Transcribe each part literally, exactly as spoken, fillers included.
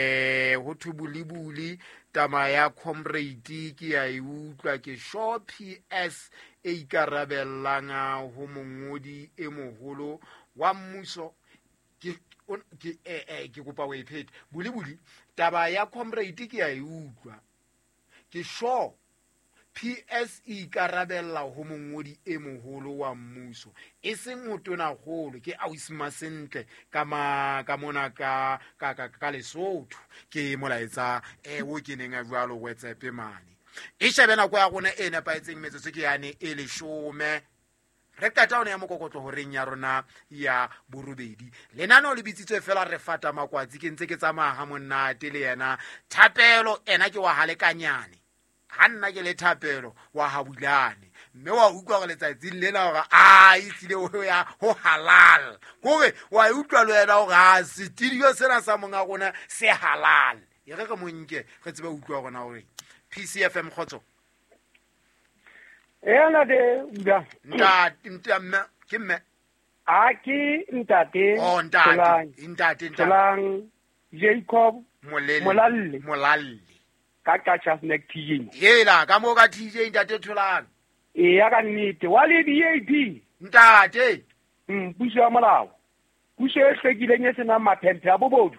Eh ho thwe bolibuli tama ya comrade ke ya e utlwa ke sure P S e ikarabellang ho mongodi e moholo wa mmuso ke ke eh ke kopa o e phete bolibuli taba ya comrade ke ya e utlwa ke sure P S e ikarabella ho mongodi e moholo wa mmuso e seng ho tonakgolo ke Ausma Sentle ka ma ka mona ka ka ka Lesotho ke molaetsa e o ke neng a jwalo WhatsApp mane e shebe nako ya rona e nepahetseng metsotso ke yane e leshome re qeta hona ya mokokotlo horeng ya rona ya borobedi lenaneo le bitsitswe fela re fata makwatsi ke ntse ke tsamaya ha monate le yena Thapelo ena ke wa halekanyane ha nna ke le Thapelo wa habulane mme wa utlwa gore letsatsi lena hore a e tlile ho ya ho halal hore wa utlwa le wena hore a studio sena sa monga rona se halal e re re monke re tsebe utlwa rona hore P C F M khotso ena de uda ntate ntate ke mme a ke ntate oh ntate ntate ntate Jacob Molalle Molalle ka Qacha's Nek T J hela ka mo ka T J ntate Tholang e ya ka nnete wa le D A P ntate mm puso ya molao puso e hlwekileng e senang maphemphe a bobodu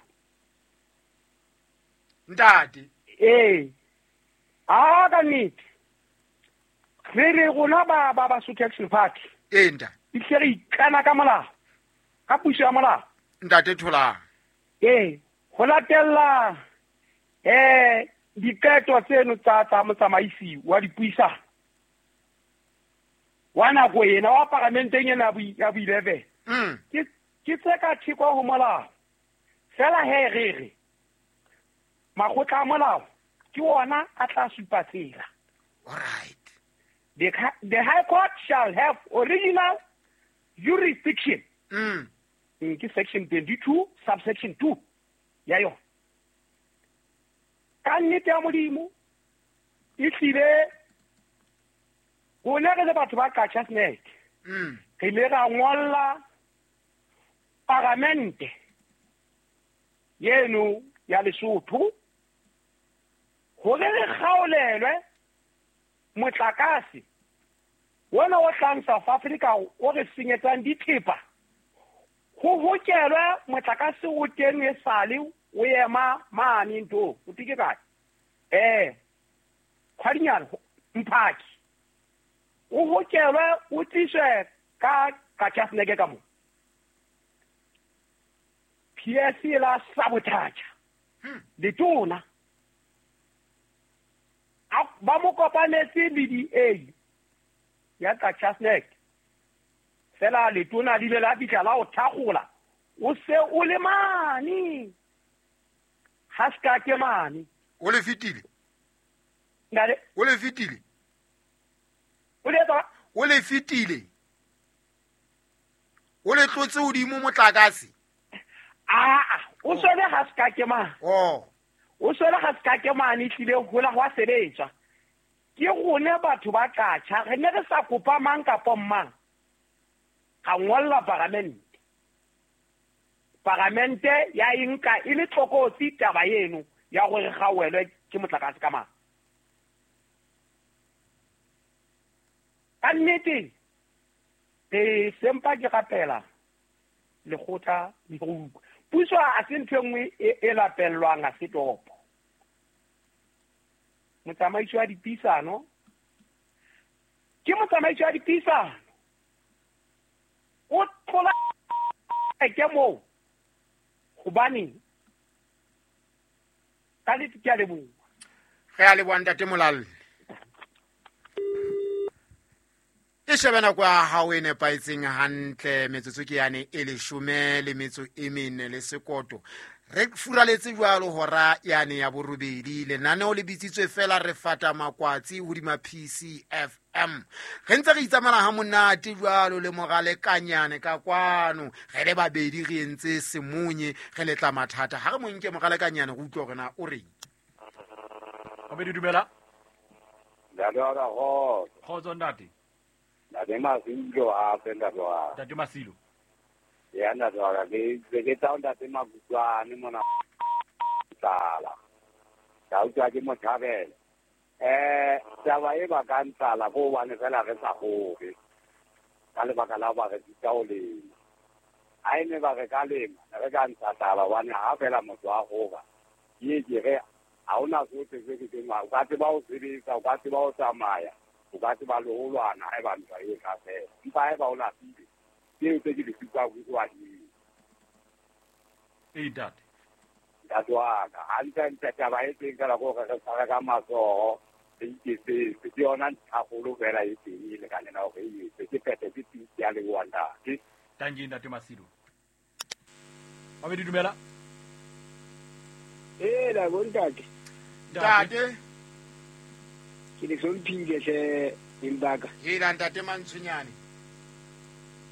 ntate eh a ka nnete re re rona ba ba ba Sotho Action Party e ntate e re ikana ka molao ka puso ya molao ntate Tholang eh ho latella eh diqeto tseno tsa tsa motsamaisi wa dipuisano wa nako ena wa paramenteng ena ya bo eleven ke ke tse ka theko ho molao fela he re re makgotla a molao ke ona a tla supa tsela. All right. The, the High Court shall have original jurisdiction. Mm. Ke section twenty-two subsection two ya yona. Ka nnete ya Modimo e tlile rona re le batho ba Qacha's Nek re ile ra ngolla paramente yeno ya Lesotho hore re kgaolelwe motlakase wona o tlang South Africa o re senyetsang dithepa ho hokelwe motlakase o teng e sale o ema mane ntho o tike kae eh khwadinyana mphaki o hokelwe o tliswe ka Qacha's Nek ka mo P S C la sabotage letona ba mo kopanetse le D A ya Qacha's Nek fela letona le ile la fihla la o thakgola o se o le mane ha ska ke mane o le fitile ngale o le fitile o le tsa o le fitile o le tlotse hodimo motlakase a a o sole ha ska ke mane oh o sole ha ska ke mane tlile hola hwa sebetswa ke rone batho ba Qacha re ne re sa kopa mang kapa mang ga ngolla paramente paramente ya inka e le tlokotsi taba eno ya gore ga welwe ke motlakase ka mang ka nnete e sempa ke rapela lekgotla le go utlwa puso a se ntho e nngwe e lapellwang a se topo motsamaisi wa dipuisano ke motsamaisi wa dipuisano o tlola ke moo hobane ka le ke a leboha re a leboha ntate Molalle e shebe nako ya hao e nepahetseng hantle metsotso ke yane e leshome le metso e mene le sekoto re furaletse jwalo hora yane ya borobedi lenaneo le bitsitswe fela re fata makwatsi hodima P C F M re ntse re itsamela ha monate jwalo le moralekanyane ka kwano re le babedi re entse semonye re letla mathata ha re monke moralekanyane re utlwe hore na o reng Babedi dumela Ntate wa ka kgotso. Kgotso ntate. Ntate Masilo hape ntate wa ka. Ntate Masilo. Ya ntate wa ka ke ke tsa ntate Makutlwane mona. tlala. Ka utlwa ke mo thabela. Eh taba e bakang tlala ko hobane fela re sa hore. Ka lebaka la ba re sita ho lema. Ha e ne ba re ka lema, re ka ntsha tlala hobane ha fela motho a hora. Ke ke re ha hona sohle se ke teng, o ka tseba ho sebetsa, o ka tseba ho tsamaya, o ka tseba le ho lwana haeba ntwa e ka fela. Empa haeba o lapile, tseo tse ke di futsang ho wa di. Ee, ntate. Ntate wa ka, hantle-ntle taba e teng fela ke hore re tshware ka matsoho, re iketsetse. Ke yona ntlhakgolo fela e teng e lekaneng hore e etse. Ke phethe ke tiisi ya leboha ntate. Tanki ntate Masido. Mabedi dumela. Ee, la bontate. Ntate. Ke le hlomphile hle Embaka. Hela ntate Mantshunyane.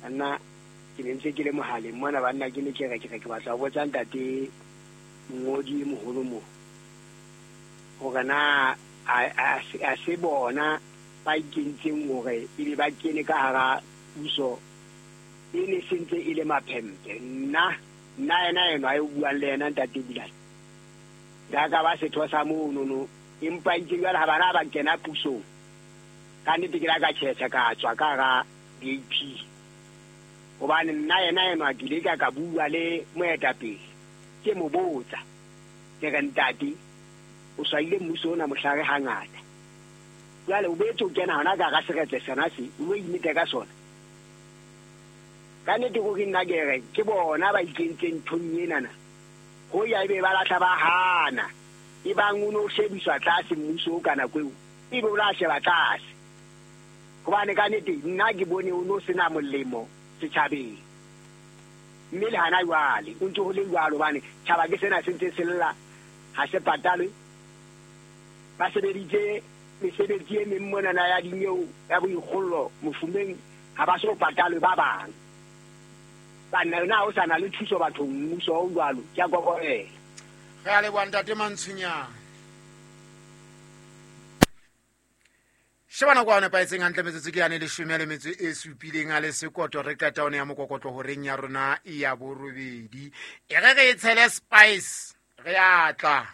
Nna ke ne ntse ke le mohaleng mona banna ke ne ke re ke re ke batla ho botsa ntate mongodi moholo mo. Hore na a a se bona ba ikentseng hore ebe ba kene ka hara puso e ne sentse e le maphempe. Nna nna yena enwa e buang le yena ntate Bulane. Ka ka ba setho sa mono no empa itse jwale ha bana ba kena pusong. Ka nnete ke la ka tjhetjha ka tswa ka hara D A P. Hobane nna yena enwa ke ile ka ka bua le moetapele. Ke mo botsa. Ke re ntate o swaile mmuso ona mohlare hangata. Jwale o boetse o kena hona ka hara seretse sena se, o lo imete ka sona. Ka nnete ko ke nna ke re ke bona ba ikentseng nthong enana. Ho ya ebe ba lahla ba hana. E bang o no shebiswa tlase mmuso o ka nako eo, ebe o la sheba tlase. Hobane ka nnete nna ke bone o no sena molemo setjhabeng. Mme le hana jwale, o ntse ho le jwalo hobane tjhaba ke sena se ntse se lla, ha se patalwe. Ba sebeditse mesebetsi e meng monana ya dineo ya boikgollo mofumeng, ha ba so patalwe ba bang. Banna na o sa na le thuso bathong mmuso o jwalo, ke a kokobela. Re a leboha ntate Mantshunyane. Sheba nako ya nepahetseng hantle metsotso ke yane leshome le metso e supileng a le sekoto re qeta one ya mokokotlo horeng ya rona ya borobedi. E re re e tshele spice, re a tla.